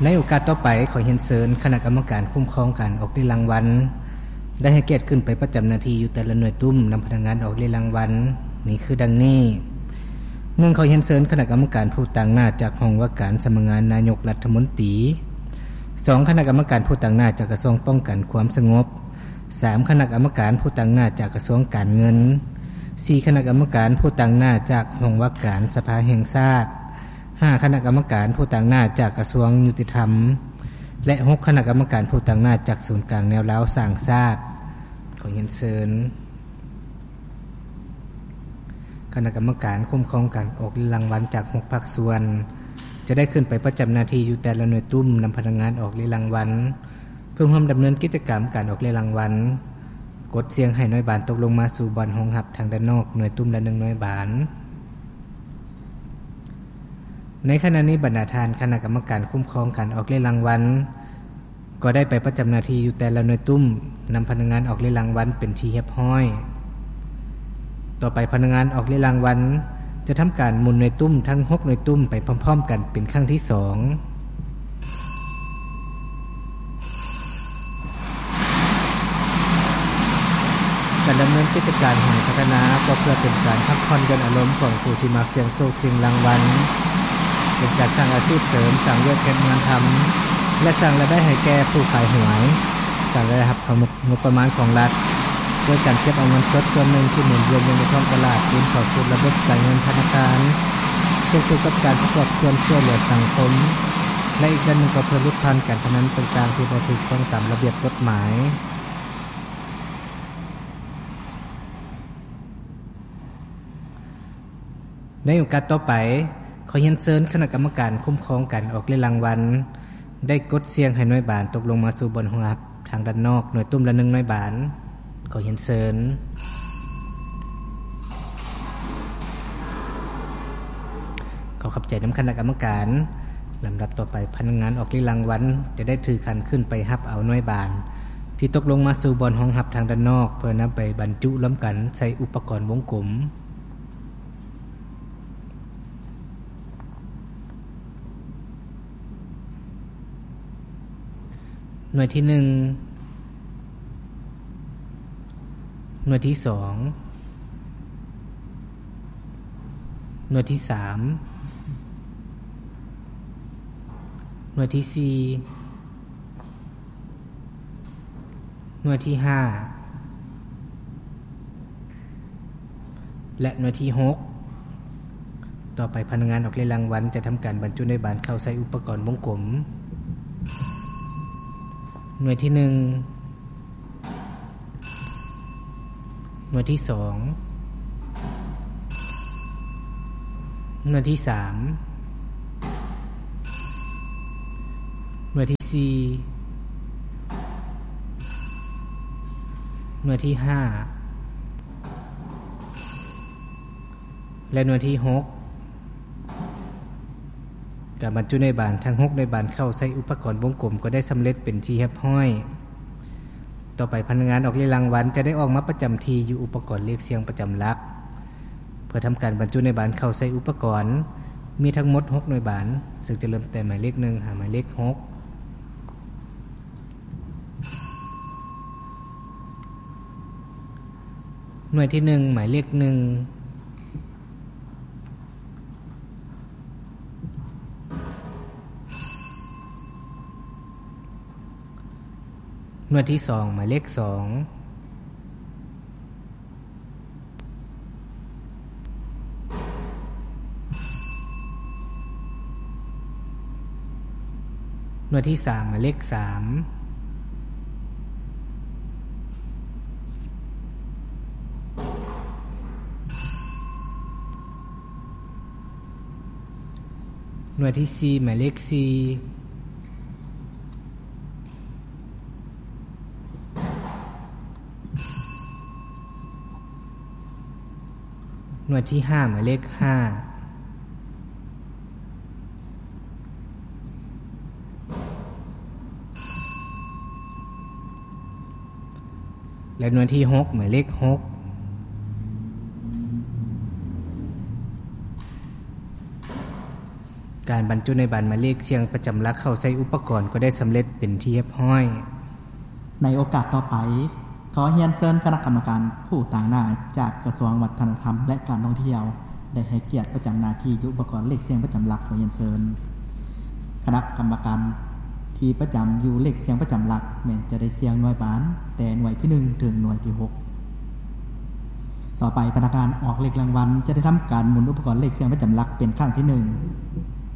ໃນໂອກາດຕໍ່ໄປ, ຂໍຮຽນເຊີນຄະນະກຳມະການຄຸ້ມຄອງການອອກເລຍລາງວັນ ໄດ້ໃຫ້ກຽດຂຶ້ນໄປປະຈຳໜ້າທີ່ຢູ່ແຕ່ລະໜ່ວຍຕຸ້ມນຳພະນັກງານອອກເລຍລາງວັນ ມີຄືດັ່ງນີ້: ໜຶ່ງ ຂໍຮຽນເຊີນຄະນະກຳມະການຜູ້ຕາງໜ້າຈາກຫ້ອງວ່າການສຳນັກງານນາຍົກລັດຖະມົນຕີ, ສອງ ຄະນະກຳມະການຜູ້ຕາງໜ້າຈາກກະຊວງປ້ອງກັນຄວາມສະຫງົບ, ສາມ ຄະນະກຳມະການຜູ້ຕາງໜ້າຈາກກະຊວງການເງິນ, ສີ່ ຄະນະກຳມະການຜູ້ຕາງໜ້າຈາກຫ້ອງວ່າການສະພາແຫ່ງຊາດ, ຫ້າ ຄະນະກຳມະການຜູ້ຕາງໜ້າຈາກກະຊວງຍຸຕິທຳ ແລະ ຫົກ ຄະນະກຳມະການຜູ້ຕາງໜ້າຈາກສູນກາງແນວລາວສ້າງຊາດ. ຂໍຮຽນເຊີນຄະນະກຳມະການຄຸ້ມຄອງການອອກເລຍລາງວັນຈາກຫົກພາກສ່ວນ ຈະໄດ້ຂຶ້ນໄປປະຈຳໜ້າທີ່ຢູ່ແຕ່ລະໜ່ວຍຕຸ້ມນຳພະນັກງານອອກເລຍລາງວັນ ເພື່ອຮ່ວມດຳເນີນກິດຈະກຳການອອກເລຍລາງວັນ, ກົດສ່ຽງໃຫ້ໜ່ວຍບານຕົກລົງມາສູ່ບ່ອນຮອງຮັບທາງດ້ານນອກ ໜ່ວຍຕຸ້ມລະໜຶ່ງໜ່ວຍບານ. ໃນຂະນະນີ້, ບັນດາທ່ານຄະນະກຳມະການຄຸ້ມຄອງການອອກເລຍລາງວັນ ກໍໄດ້ໄປປະຈຳໜ້າທີ່ຢູ່ແຕ່ລະໜ່ວຍຕຸ້ມນຳພະນັກງານອອກເລຍລາງວັນເປັນທີ່ຮຽບຮ້ອຍ. ຕໍ່ໄປ, ພະນັກງານອອກເລຍລາງວັນ ຈະທຳການໝູນໜ່ວຍຕຸ້ມທັງຫົກໜ່ວຍຕຸ້ມໄປພ້ອມໆກັນເປັນຄັ້ງທີສອງ. ການດຳເນີນກິດຈະການຫອຍພັດທະນາ ກໍເພື່ອເປັນການພັກຜ່ອນຢ່ອນອາລົມຂອງຜູ້ທີ່ມັກສ່ຽງໂຊກສ່ຽງລາງວັນ, ເປັນການສ້າງອາຊີບເສີມ, ສ້າງວຽກເຮັດງານທຳ ແລະ ສ້າງລາຍໄດ້ໃຫ້ແກ່ຜູ້ຂາຍຫວຍ, ສ້າງລາຍຮັບເຂົ້າງົບປະມານຂອງລັດ ໂດຍການເກັບເອົາເງິນສົດສ່ວນໜຶ່ງທີ່ໝູນວຽນຢູ່ໃນທ້ອງຕະຫຼາດຄືນເຂົ້າສູ່ລະບົບການເງິນທະນາຄານ, ຄວບຄູ່ກັບການປະກອບສ່ວນຊ່ວຍເຫຼືອສັງຄົມ ແລະ ອີກດ້ານໜຶ່ງກໍເພື່ອຫຼຸດຜ່ອນການພະນັນຕ່າງໆທີ່ບໍ່ຖືກຕ້ອງຕາມລະບຽບກົດໝາຍ. ໃນໂອກາດຕໍ່ໄປ, ຂໍຮຽນເຊີນຄະນະກຳມະການຄຸ້ມຄອງການອອກເລຍລາງວັນ ໄດ້ກົດສ່ຽງໃຫ້ໜ່ວຍບານຕົກລົງມາສູ່ບ່ອນຮອງຮັບທາງດ້ານນອກ ໜ່ວຍຕຸ້ມລະໜຶ່ງໜ່ວຍບານ. ຂໍຮຽນເຊີນ. ຂໍຂອບໃຈນຳຄະນະກຳມະການ. ລຳດັບຕໍ່ໄປ, ພະນັກງານອອກເລຍລາງວັນຈະໄດ້ຖືຂັນຂຶ້ນໄປຮັບເອົາໜ່ວຍບານທີ່ຕົກລົງມາສູ່ບ່ອນຮອງຮັບທາງດ້ານນອກ ເພື່ອນຳໄປບັນຈຸລວມກັນໃສ່ອຸປະກອນວົງກົມ. ໜ່ວຍທີໜຶ່ງ, ໜ່ວຍທີສອງ, ໜ່ວຍທີສາມ, ໜ່ວຍທີສີ່, ໜ່ວຍທີຫ້າ ແລະ ໜ່ວຍທີຫົກ. ຕໍ່ໄປ, ພະນັກງານອອກເລຍລາງວັນຈະທຳການບັນຈຸໜ່ວຍບານເຂົ້າໃສ່ອຸປະກອນວົງກົມ. ໜ່ວຍທີໜຶ່ງ, ໜ່ວຍທີສອງ, ໜ່ວຍທີສາມ, ໜ່ວຍທີສີ່, ໜ່ວຍທີຫ້າ ແລະ ໜ່ວຍທີຫົກ. ການບັນຈຸໜ່ວຍບານທັງຫົກໜ່ວຍບານເຂົ້າໃສ່ອຸປະກອນວົງກົມກໍໄດ້ສຳເລັດເປັນທີ່ຮຽບຮ້ອຍ. ຕໍ່ໄປ, ພະນັກງານອອກເລຍລາງວັນຈະໄດ້ອອກມາປະຈຳທີ່ຢູ່ອຸປະກອນເລກສ່ຽງປະຈຳຫຼັກ ເພື່ອທຳການບັນຈຸໜ່ວຍບານເຂົ້າໃສ່ອຸປະກອນ. ມີທັງໝົດຫົກໜ່ວຍບານ, ເຊິ່ງຈະເລີ່ມແຕ່ໝາຍເລກໜຶ່ງຫາໝາຍເລກຫົກ. ໜ່ວຍທີໜຶ່ງ ໝາຍເລກໜຶ່ງ, ໜ່ວຍທີສອງ ໝາຍເລກສອງ, ໜ່ວຍທີສາມ ໝາຍເລກສາມ, ໜ່ວຍທີສີ່ ໝາຍເລກສີ່, ໜ່ວຍທີຫ້າ ໝາຍເລກຫ້າ, ແລະ ໜ່ວຍທີຫົກ ໝາຍເລກຫົກ. ການບັນຈຸໃນບານໝາຍເລກສ່ຽງປະຈຳຫຼັກເຂົ້າໃສ່ອຸປະກອນກໍໄດ້ສຳເລັດເປັນທີ່ຮຽບຮ້ອຍ. ໃນໂອກາດຕໍ່ໄປ, ຂໍຮຽນເຊີນຄະນະກຳມະການຜູ້ຕາງໜ້າຈາກກະຊວງວັດທະນະທຳ ແລະ ການທ່ອງທ່ຽວ ໄດ້ໃຫ້ກຽດປະຈຳໜ້າທີ່ຢູ່ອຸປະກອນເລກສ່ຽງປະຈຳຫຼັກ. ຂໍຮຽນເຊີນ. ຄະນະກຳມະການທີ່ປະຈຳຢູ່ເລກສ່ຽງປະຈຳຫຼັກ ແມ່ນຈະໄດ້ສ່ຽງໜ່ວຍບານ ແຕ່ໜ່ວຍທີໜຶ່ງ ເຖິງໜ່ວຍທີຫົກ. ຕໍ່ໄປ, ພະນັກງານອອກເລກລາງວັນຈະໄດ້ທຳການໝູນອຸປະກອນເລກສ່ຽງປະຈຳຫຼັກເປັນຄັ້ງທີໜຶ່ງ.